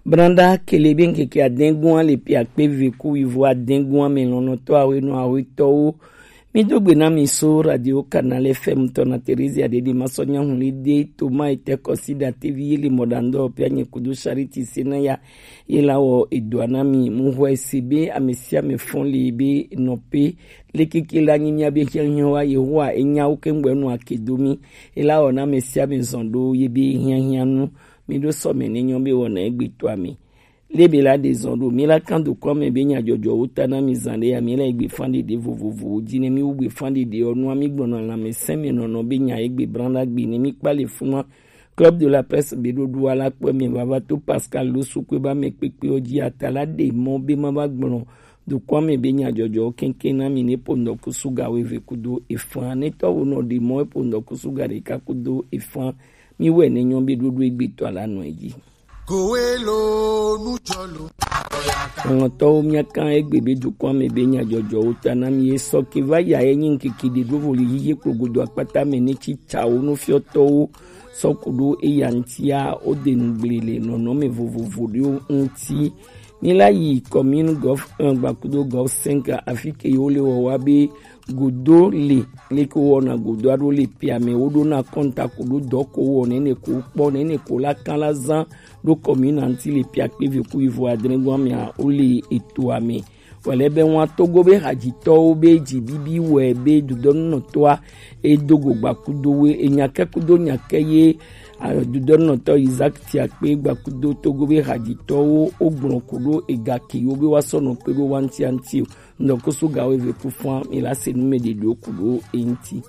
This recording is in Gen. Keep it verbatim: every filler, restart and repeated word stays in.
Branda kele be ŋkeke adɛngun le pia kpe ve ku wivo adɛngun ame lɔnɔtɔ awe nɔ awe tɔwo. Mi do gbe na mi so radio Canal F M tɔ na Theresia de de ma sɔ nya hun le de to ma ete kɔsi da tevi ye le mɔdandɔ pia nye kudo Charity Senaya ye la wɔ edoa na mi mu hɔ ese be ame sia ame fɔn le be nɔ pe le keke la nyi mia be hiahiã wa Yehowa enya wo ke ŋgbɛ nɔ ake do mi. E la wɔ na ame sia ame zɔn do ye be hiahiã nu. Mi ɖo sɔ mɛ ne nyɔ be wɔna egbe to ame. Lebe la ɖe zɔn ɖo mi la kan do kɔn mɛ be nya jɔjɔ wo ta na mi zan ɖe ya mi la egbe fan ɖeɖe vovovowo ji ne mi wu gbe fan ɖeɖe ɔ nua mi gbɔna lanmɛsɛn mɛ nɔnɔ be nya egbe bran la gbe ne mi kpa le funua. Club de la Presse be ɖoɖo ala kpɔ mɛ vava to Pascal lo sukue ba mɛ kpekpe ɔ ji ata la ɖe mɔ be ma va gblɔ do kɔn mɛ be nya jɔjɔ kɛnkɛn na mi ne po ŋdɔ kusu ga wo eve kudo efan ne tɔ wo nɔ ɖe mɔ e po ŋdɔ kusu ga ɖeka kudo efan. Mi wɛ ne nyɔ be ɖoɖo egbe tɔ la nɔ eji. Kowe lo nujɔ lo. Ŋɔtɔwo miakan egbe be dukɔa me be nyadzɔdzɔwo ta na mi ye sɔ ke va ya ye nyi ŋkeke ɖe ɖo voli yiye kplogodo akpata me ne tsi tsawo nufiɔtɔwo sɔ ku ɖo eya ŋtia wo de nugble le nɔnɔme vovovo ɖewo ŋti. Mi la yi commune gov un gbakudo gov cinq afi ke yewo le wɔwa be godo le leke wowɔna godo aɖo le pia me woɖo na kɔnta ko ɖo dɔ ko wɔ nene ko kpɔ nene ko la kan la zan ɖo kɔmina ŋti le pia kpe ve ku ivo adre gɔn mea wole etoa me. Wòle be ŋua Togo be hadzitɔwo be dzi bibi wɔe be dudɔnunɔtɔa edo go gbakudo we enyakɛ kudo nyakɛ ye dudɔnunɔtɔ Isaac Tiakpe gbakudo Togo be hadzitɔwo wogblɔ ko ɖo ega ke yewo be woasɔ nɔ kpe ɖo wa ŋtiaŋti o. Ŋdɔkusu gawo eve ku fua mi la se nu me ɖeɖewo ku ɖo eŋti.